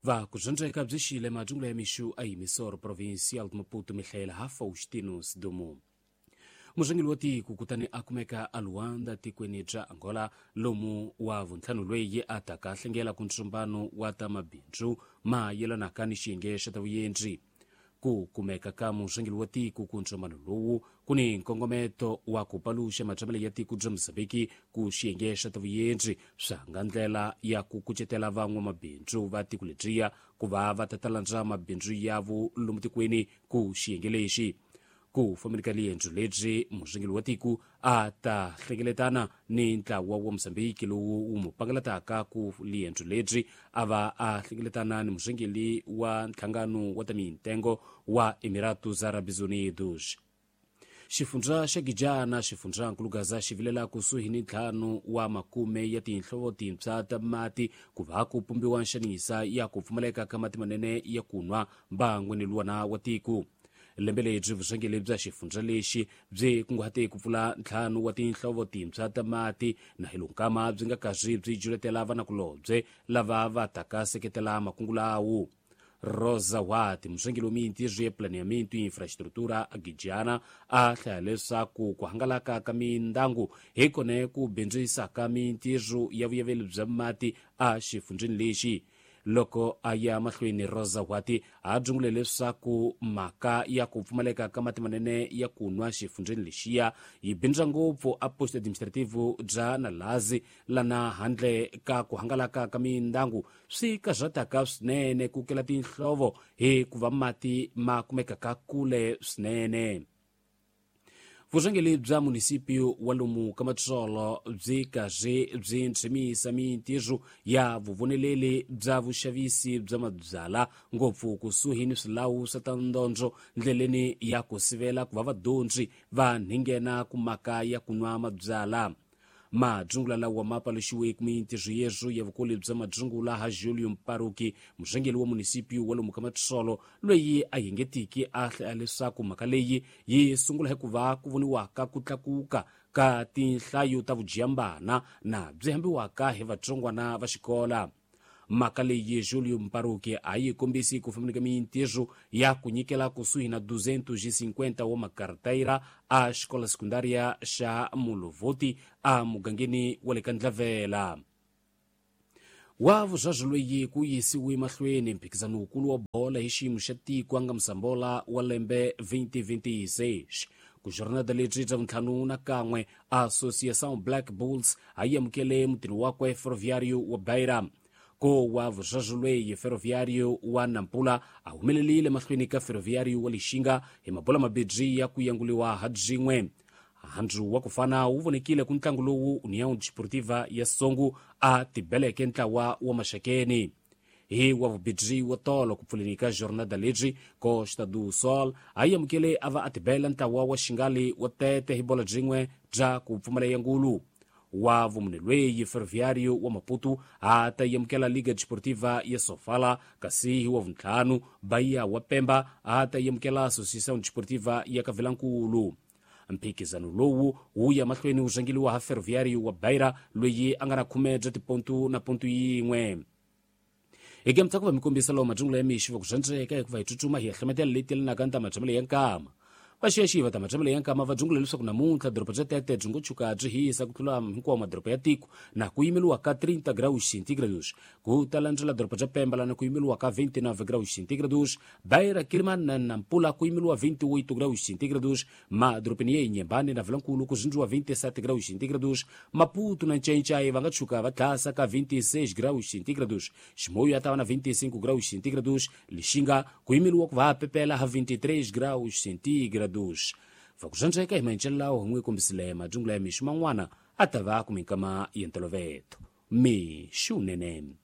Va kuzvandzeka bzixile majungula ya mixu a emissora provincial de Maputo mihlayela ha Faustino Sidumo. Murhangeri wa tiko kutani a kumeka a Luanda tikweni bya Angola lomu wa vuntlhanu loyi a taka hlengela ku ntsombano wa ta mabindzu ma yelanaka ni xiyenge xa ta vuyendzi. Ku kumeka ka murhangeri wa tiko ku ntsombano lowu ku ni nkongometo wa ku paluxa matshamelo ya tiko bya Mozambiki ku xiyenge xa ta vuyendzi swa nga ndlela ya ku kucetela van'wamabindzu va tiko lebyiya ku va va ta landza mabindzu yavo lomu tikweni ku xiyenge lexi. Ku fambeni ka liendzo lebyi murhangeri wa tiko a ta hlengeletana ni ntlawa wa Mozambiki lowu wu mu pangalataka ku liendzo lebyi a va a hlengeletana ni murhangeri wa nhlangano wa ta mintengo wa Emiratos Árabes Unidos. Xifundza xa Gijana xifundzankulu Gaza xi vilela kusuhi ni 5 wa makume ya tinhlovo tintshwa ta mati ku va ku pumbiwa nxanisa ya ku pfumaleka ka mati manene ya ku nwa mbangwini luwana wa tiko. Lembe lebyi vurhangeri bya xifundza lexi byi kunguhate ku pfula 5 wa tinhlovo tintshwa ta mati na hi lonkama byi nga karhi byi juletela vanakulobye lava va taka seketela makungu lawo. Rosa Watt, murhangeri wa mintirho ya planeamento e infraestrutura a Gijana, a hlaya leswaku ku hangalaka ka mindangu hi kona ku bindzisaka mintirho ya vuyaveli bya mati a xifundzeni lexi. Loko a ya mahlweni Rosa Watt a byungule leswaku mhaka ya ku pfumaleka ka mati manene ya ku nwa xifundzeni lexiya yi bindza ngopfu a posto administrativo bya Nalazi lana handle ka ku hangalaka ka mindangu swi karhataka swinene ku kela tinhlovo hikuva mati ma kumekaka kule swinene. Vurhangeri bya munisipio wa lomu ka Matsolo byi karhi byi ntshemisa mintirho ya vuvoneleli bya vuxavisi bya mabyala ngopfu kusuhi ni swilawu swa ta ndondzo ndleleni ya ku sivela ku va vadyondzi va nghena ku mhaka ya ku nwa mabyala. Madzungula lawa ma paluxiwe ku mintirho yeswo ya vukulu bya madzungula ha Julio Mparuki, murhangeri wa munisipio wa lomu ka Matsolo loyi a yengetiki a hlaya leswaku mhaka leyi yi sungula hikuva ku voniwaka ku tlakuka ka tinhlayo ta vudyambana na byi hambiwaka hi vatsongwana va xikola. Mhaka leyi Julio Mparuki a yi kombisi ku fambeni ka mintirho ya ku nyikela kusuhi na 250 wa makartaira a xikola sekundaria xa Mulovoti a mugangeni wa le ka Ndlavela. Wa vuzvazvo loyi ku yisiwe mahlweni mphikizano wukulu wa bola hi xiyimo xa tiko a nga Msambola wa lembe 2026. Ku jornada lebyi bya vuntlhanu na kan'we Associação Black Bulls a yi amukele mutini wakwe Ferroviário wa Beira. Ko wa vuzvazvo loyi Ferroviário wa Nampula a humelelile mahlweni ka Ferroviário wa Lixinga hi mabola mabedzi ya ku yanguliwa ha byin'we. Handzu wa ku fana wu vonekile ku ntlangu lowu União Desportiva ya Songo a tibeleke ntlawa wa Maxakeni. Hi wa vubedzi wa tolo ku pfuleni ka jornada lebyi Costa do Sol a yi amukele a va a tibela ntlawa wa Xingali wa Tete hi bola byin'we bya ku pfumala yangulu. Wa vumune loyi Ferroviário wa Maputo a ta yamukela Liga Desportiva ya Sofala, kasi hi wa vuntlhanu Bahia wa Pemba a ta yamukela Associação Desportiva ya Kavilankulu. Mphikizano lowu wu ya mahlweni wu rhangeriwa ha Ferroviário wa Beira loyi a nga na 10 bya tipontu na pontu yin'we. Hi ke mutsaku va mi kombisa lawa madzungula ya mixi va ku zvandzeka hikuva hi tsutsuma hi ya hlometela leyi telanaka ni ta matshamelo ya nkama. Vaxiyaxiyi va ta matshamelo ya nkama va dzungula leswaku namuntlha doroba bya Tete byi ngo tshuka byi hisa ku tlula hinkwawo madoroba ya tiko na ku yimeliwa ka 30 graus centígrados. Ku ta landzela doroba bya Pemba lana ku yimeliwa ka 29 graus centígrados, Beira, Quelimane na Nampula ku yimeliwa 28 graus centígrados, madorobeni ya Inhambane na Vilankulu ku zindziwa 27 graus centígrados, Maputo na Ncencai va nga tshuka va tlhasa ka 26 graus centígrados, Chimoio ya ta va na 25 graus centígrados, Lixinga ku yimeliwa ku va pepela ha 23 graus centígrados. Va ku zvandzeka hi maendlelo lawo hi n'wi kombisile madzungula ya mixu man'wana a ta va ku minkama ya ntoloveto. Mixu nene.